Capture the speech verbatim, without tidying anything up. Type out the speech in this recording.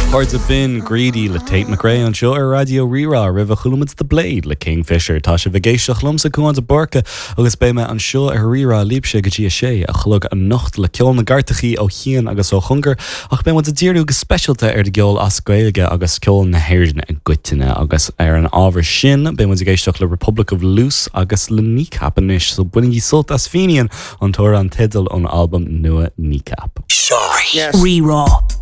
Cairde b'in Greedy le Tate McRae anseo ar Raidió Rí-Rá roimhe chuala muid The Blade le Kingfisher Tá sibh ag éisteacht liomsa Cuán de Búrca agus beidh mé anseo ar Rí-Rá libhse go dtí a sé a chlog anocht le ceol na gcairteachaí ó chian agus ó chóngar ach beidh muid ag díriú go speisialta ar an gceol as Gaeilge agus ceol na hÉireann i gcoitinne agus ar an ábhar sin beidh muid ag éisteacht le Republic of Loose agus le Kneecap anois so bainigí sult as Fenian an t-amhrán teideal ón albam nua Kneecap. Rí-Rá.